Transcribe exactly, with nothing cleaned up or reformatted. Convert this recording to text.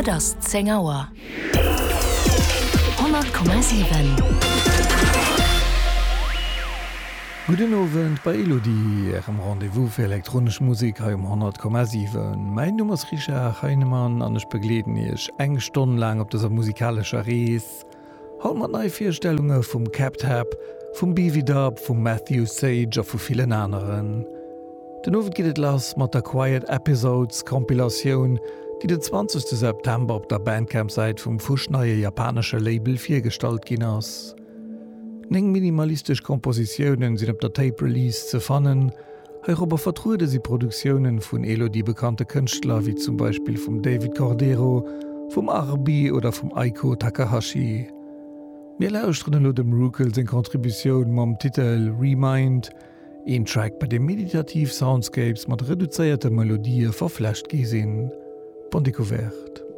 Et ass zéng Auer. Honnert Komma siwen. Gudden Owend bei Elodie, Ärem Rendez-vous fir elektronesch Musek hei um honnert Komma siwen. Mäin Numm ass Richard Heinemann an ech begleeden Iech eng Stonn laang op dëser musikalescher Rees. Haut mat Neivirstellunge vum CabTab, vum Bvdub, vum Matthew Sage a vu villen aneren. Den Owend geet et lass mat der Quiet Episodes Compilatioun, déi den zwanzegste September op der Bandcamp-Säit vum fuschneie japanesche Label virgestallt ginn ass. Néng minimalistesch Kompositiounen sinn op der Tape Release ze fannen. Heirobber vertruede si Produktiounen vun Elodie bekannte Kënschtler wéi zum Beispill vum David Cordero, vum Arbi oder vum Aiko Takahashi. Mir lauschteren elo dem Rukel seng Contributioun mam Titel Remind, een Track bei deem meditativ Soundscapes mat reduzéierte Melodië verflecht gi sinn. Bonne Découverte.